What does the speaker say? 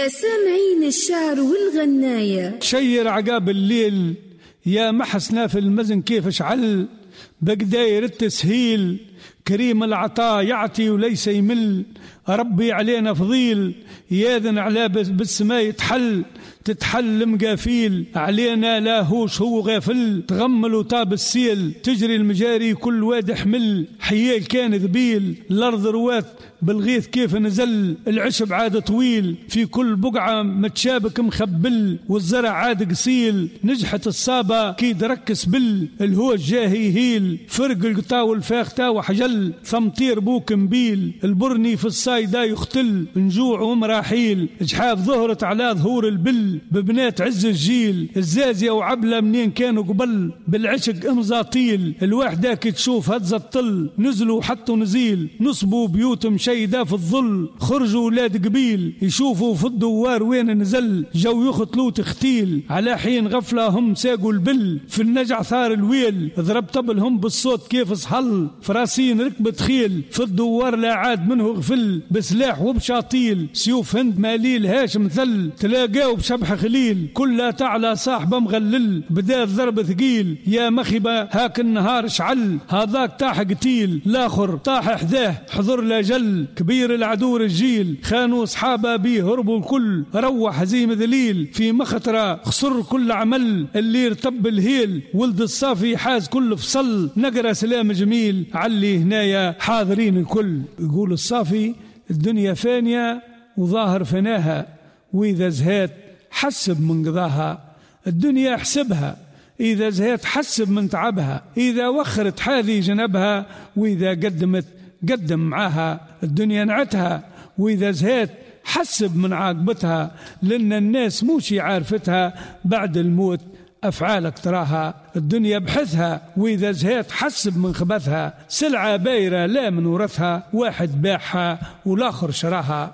سامعين الشعر والغناية. شير عقاب الليل يا محسنا في المزن كيف شعل، بقداير التسهيل كريم العطاء يعطي وليس يمل، ربي علينا فضيل ياذن على بالسماء يتحل، تتحل مقافيل علينا لا هوش هو غافل، تغمل وطاب السيل تجري المجاري كل واد حمل، حيال كان ذبيل الأرض روات بالغيث كيف نزل، العشب عاد طويل في كل بقعة متشابك مخبل، والزرع عاد قصيل نجحت الصابة كي درك سبل، الهوج جاهي هيل فرق القطا والفاختا وحجل، ثمطير بوك مبيل البرني في الصايدة يختل، نجوع ومراحيل جحاف ظهرت على ظهور البل، ببنات عز الجيل الزازية وعبلة منين كانوا قبل، بالعشق امزاطيل الواحدة كي تشوف هزة الطل، نزلوا حطوا نزيل نصبوا بيوت مشيدة في الظل، خرجوا ولاد قبيل يشوفوا في الدوار وين نزل، جو يختلوا تختيل على حين غفلة هم ساقوا البل، في النجع ثار الويل ضرب طبلهم بالصوت كيف صحل، فراسين ركبت خيل في الدوار لا عاد منه غفل، بسلاح وبشاطيل سيوف هند ماليل هاشم ثل، تلاقاو بشبح خليل كلها تعلى صاحبه مغلل، بدا الضرب ثقيل يا مخبة هاك النهار شعل، هذاك طاح قتيل الاخر طاح حذاه حضر لا جل، كبير العدو رجيل خانوا صحابه بيه هربوا الكل، روح هزيم ذليل في مخطرة خسر كل عمل، اللي ارتب الهيل ولد الصافي حاز كل فصل، نقرا سلام جميل علي هنايا حاضرين الكل. يقول الصافي الدنيا فانية وظاهر فناها، وإذا زهات حسب من قضاها، الدنيا حسبها إذا زهات حسب من تعبها، إذا وخرت حاذي جنبها، وإذا قدمت قدم معاها، الدنيا نعتها وإذا زهات حسب من عاقبتها، لأن الناس موشي عارفتها بعد الموت أفعالك تراها، الدنيا بحثها وإذا زهات حسب من خبثها، سلعة بايرة لا من ورثها، واحد باعها والآخر شراها.